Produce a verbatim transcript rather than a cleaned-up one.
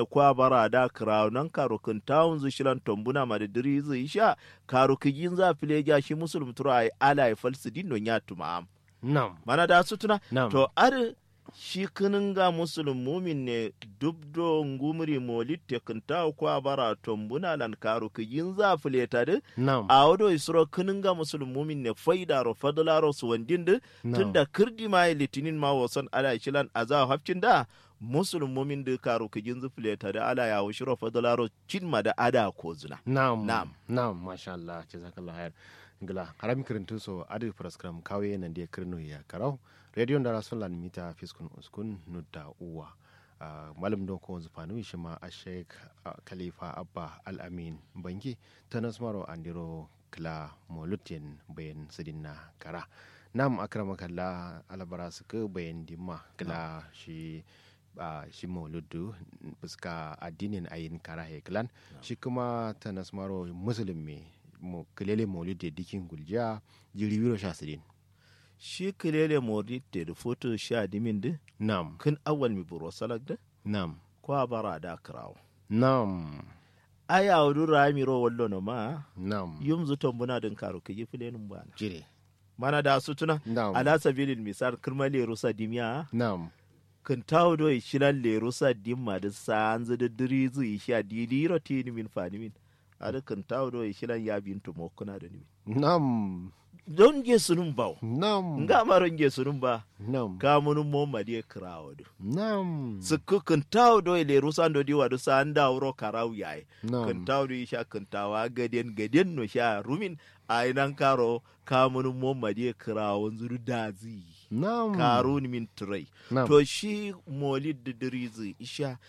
Kwa bara da kǝrawo nan karo kǝntawunzǝ shilan tombuna ma dǝ dǝrizǝ isha. Karo kǝjinza fileja shi musulum turo ayi ala ye fal sǝdin no nya tuma am. Nam. Mana da sutuna. Nam. To adǝ shi kǝnǝnga musulum mumin ne. Dubdo ngumri molit te kǝntawo kwa bara tombuna lan karo kǝjinza fileta dǝ. Nam. Awo do isuro kǝnǝnga musulum mumin ne faidaro fadlaro suwandin dǝ. Nam. Tunda kǝrdi ma ye litinin ma woson ala ye shilan azawa hafcin da. Musulum mumin dǝ karo kǝjinzǝ fileta dǝ ala yawo shiro fadlaro cin ma dǝ ada kozuna. Nam. Nam. Nam masha Allah jazakallah hair. Ngla harami kǝrǝntǝ so adǝ faraskaram kawe nande kǝrǝnu ya karau. Radio ndara sunlan mita fiskun uskun nudda uwa. Malum do kowonzǝ fanu shima ashek khalifa abba al amin bangi. Tanas maro andiro kǝla molud yen bayan sǝdinna kara. Nam akramakalla alabara sǝkǝ bayan dimma kǝla shi. Shi moluddu fuska addinin ayin kara he kǝlan. Shi kǝma tanas maro musulum me kǝlele moludde dikin guljiya. Jiri wiro sha sǝdin. Shi kǝlele moludde dǝ futu sha dimin dǝ. Nam. Kǝn awal mi buro salak dǝ. Nam. Kwa bara da kǝrawo. Nam. Ai awo dǝ rami ro wallo no ma. Nam. Yumzǝ tombuna dǝn karo kǝji fǝlenǝm bana. Jire. Mana da sutuna. Nam. Ala sabilil misal kǝrma lerusa dimiya. Nam. Kǝntawo do ishilan lerusa dimma dǝ saanzǝ dǝ dǝrizǝ ishiya didiro tinimin fanimin. Adǝ kǝntawo do ishilan ya bintu mokkuna dǝ nimin. Nam. Don nge sunum bawo. Nam. Nga ma ron nge sunum ba. Nam. Kamunum mo madiye kǝrawo dǝ. Nam. Sǝkkǝ kǝntawo do lerusa ndo diwa dǝ sanda wuro karawu yaye. Nam. Kǝntawo do isha kǝntawa gaden gaden no sha rumin. Ayi nan karo kamunum mo madiye kǝrawo nzuru dazi. Nam. Karun min turai. Nam. To shi molid dǝ dǝrizǝ isha.